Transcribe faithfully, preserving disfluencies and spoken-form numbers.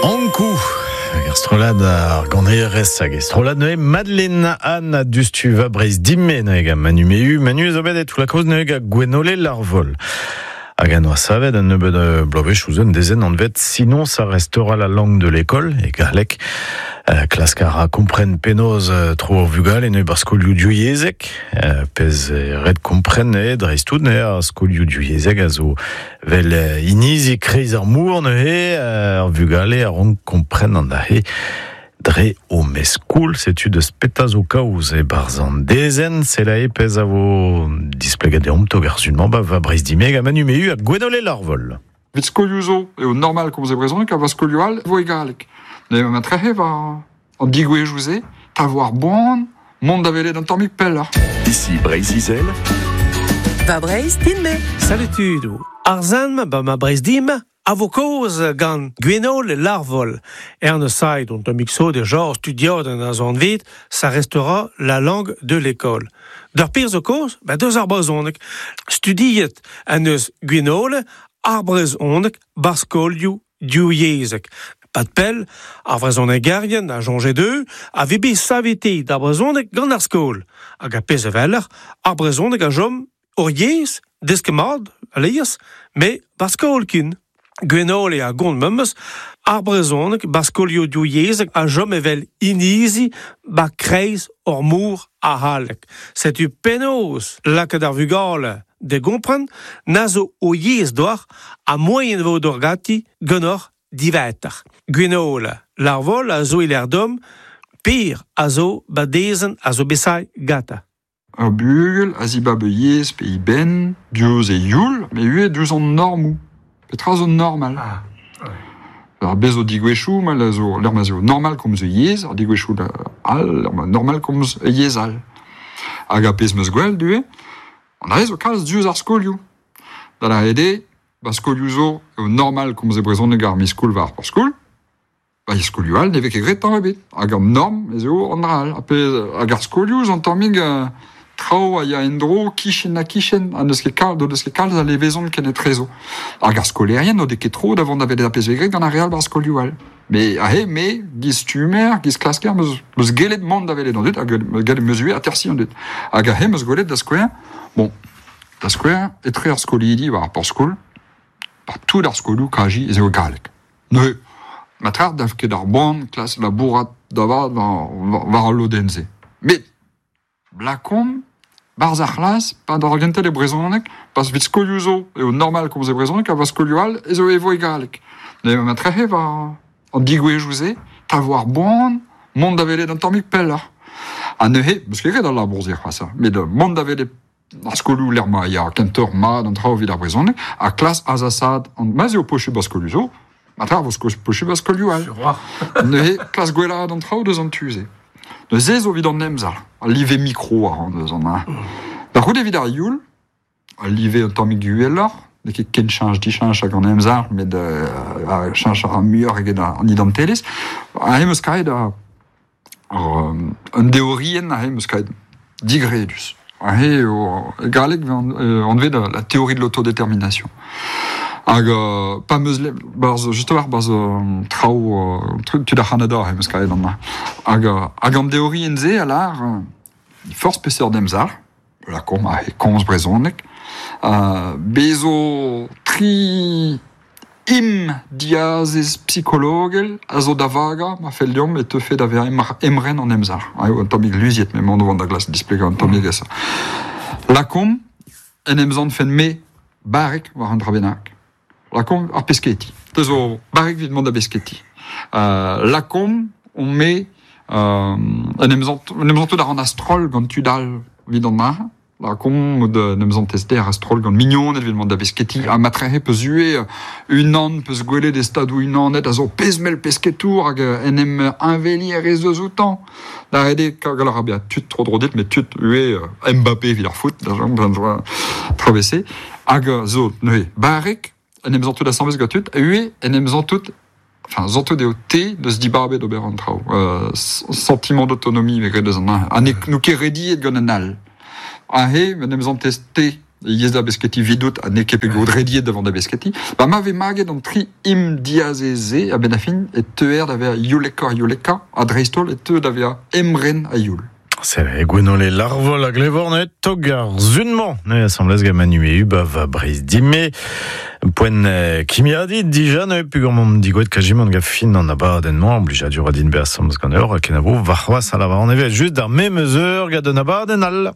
Ankou hag ar strollad ar ganerez hag e strollad neuze Madeleine Anne dustu va Breizh dimme neuze gant Manu Mehu. Manu zo bet e tout la cause neuze gant Gwenole Larvol. Hag an oa savet un nebeud bloavezh ouzh un dezenn anvet Sinon ça restera la langue de l'école e galleg. Euh, klask a ra kompren penaos euh, tro ar vugale neuze bar skolioù divyezhek, euh, pezh ret kompren e dreist-tout neuze ar skolioù divyezhek a zo vel euh, inizi kreiz ar mour neuze euh, ar vugale a rank kompren an ahe dre o meskoul, setu deus peta zo kaoz e barz an dezenn, se la e pezh a vo displeget deomp tog ar sunmañ ba va Breizh dimme gant Manu Mehu ha Gwenole Larvol. Vit skolioù zo eo normal komz e brezhoneg ha va skolioù all vo e galleg. Ne ma trehe va an digouezhioù se, ta vo ar boan, mont da welet an tammig pelloc'h. Ici Breizh-Izel. Va Breizh dimme. Salut tudoù. Ar zan ba ma Breizh dimme a vo kaoz gant Gwenole Larvol. Er ne said ont un mixo de genre studiot an a zon vet, ça restera la langue de l'école. D'ar pir zo kaoz, ba deus ar brezhoneg. Studiet an eus Gwenole ar brezhoneg bar skolioù divyezhek. Pat pell, ar vrezhonegerien a soñje dezho a vez bet savete d'ar brezhoneg gant ar skol. Hag a pezh eveller, ar brezhoneg a chom ur yezh, desket mat, alies, met bar skol ken. Gwenole a gont memes, ar brezhoneg bar skolioù divyezhek a chom evel inizi ba kreiz ur mor a c'halleg. Setu penaos lakaat ar vugale de gompren, na zo o yezh doc'h ha moaien vo d'or gati ganeoc'h diwezhatoc'h. Gwenole Larvol a zo e dom, pir a zo badezen a zo besai gata. Ur bugel a zibab yezh pe i ben, diouzh e youl, met ivez diouzh an normoù. Petra zo normal. Ah, ouais. Ar bez zo digouezhioù, ma la zo l'er ma zo normal komz yezh, ar digouezhioù all, l'er ma normal komz yezh all. Hag a pezh meus gwell duet, an a zo kalz diouzh ar skolioù. Da la ede, ba skolioù zo eo normal komz e brezhoneg ar miskoul war ar skol, ba e skolioù all ne vez ket graet tamm ebet. Hag an norm ez eo an dra all. Ha pezh hag ar skolioù zo an tammig euh, traoù a ya en-dro kichen ha kichen, ha n'eus ket kalz, n'eus ket kalz a levezon ken etrezo. Hag ar skolerien n'o de ket tro da vont da welet ar pezh vez graet gant ar re all bar skolioù all. Me ahe, me, giz stumer, giz klasker, meus, meus gellet mont da welet an dud, hag meus gellet meus ivez atersi an dud. Hag ahe, meus gwelet da skouer, bon, da skouer, etre ar skolidi war ar porzh-skol, par tout ar skolioù kaji ez eo galleg. Neuze, ma tra daf ket ar boan klas labourat da vat war, war al lodenn-se. Met, lakomp, barz ar c'hlas, pa d'ar gentel e brezhoneg, pas vit skolioù zo eo normal komz e brezhoneg, ha va skolioù all ez eo e vo e galleg. Ne ma trehe war an digouezhioù se, ta vo ar boan, mont da welet an tammig pelloc'h. Ha neuze, meus ket graet al labour-se c'hoazh, met mont da welet ar skolioù lec'h ma ya kentoc'h mat an traoù evit ar brezhoneg, ha klas azasad, an ma 'z eo posubl ar skolioù zo, ma tra vo posubl ar skolioù all. Neuze, klas gwellaat an traoù deus an tu-se. Neuze zo evit an emzalc'h, al live mikro a ran deus an ha. Da c'houde evit ar youl, al live un tammig uheloc'h, n'eo ket ken cheñch dicheñch hag an emzalc'h, met euh, cheñch a ra muioc'h eget an identelezh. Aze 'm eus kaet ar, ar, un deorienn aze 'm eus kaet digredus. Aze eo e galleg anvet la théorie de l'autodétermination. Hag euh, pa meus le, barz, just war barz euh, traoù euh, truc tud ar C'hanada aze 'm eus kaet an Hag, hag an deorienn se a lar, euh, forzh peseurt emzalc'h, lakomp aze komz brezhoneg, euh, bezo tri im diazez psikologel a zo da vagañ ma fell deomp e teufe da vezañ emren an emzalc'h. Eo un tammig luziet, met mont da glas displegañ un tammig esa. Lakomp en emzant fen me barrek war an dra bennak. Lakomp ar pesketi. Te zo barrek evit mont da besketi. Euh, lakomp on me euh, en emzant en emzant da ran astrol gant tud all evit an ar. Lakomp mod en emzant tester astrol gant mignoned evit mont da besketi. Ha matrehe peus ue unan peus gwelet e stadoù unanet a zo pezh-mell pesketour hag en em inveli er rez eus outañ. Da rede gal a ra bezañ tud tro dro dit, met tud ue Mbappé evit ar foot, da jom, travese. Hag zo neuze barrek en em zantout asambles gant tud, ue en em zantout, enfin, zantout eo te deus dibabet d'ober an traoù. Euh, sentiment d'autonomie vez graet deus an ha ne nou ket rediet gant an all. Aze, en em zantez te Yez da besketi vidot a ne ket pe rediet davant da besketi. Ba ma ve maget an tri im diazeze a ben a fin e teuer da ver youlekor youleka a dreistol e teu da ver emren a youl. C'est Gwenole Larvol a glevor ne tog ar zunman ne assemblez gant Manu e uba va breiz dime poen kimiadi dija ne pugur mom digoet kajimant gant fin an abadenn noa oblija dur a din be assemblez gant eur a kenavo varc'hoaz a lavar an evet just d'ar même eur gant an abadenn al.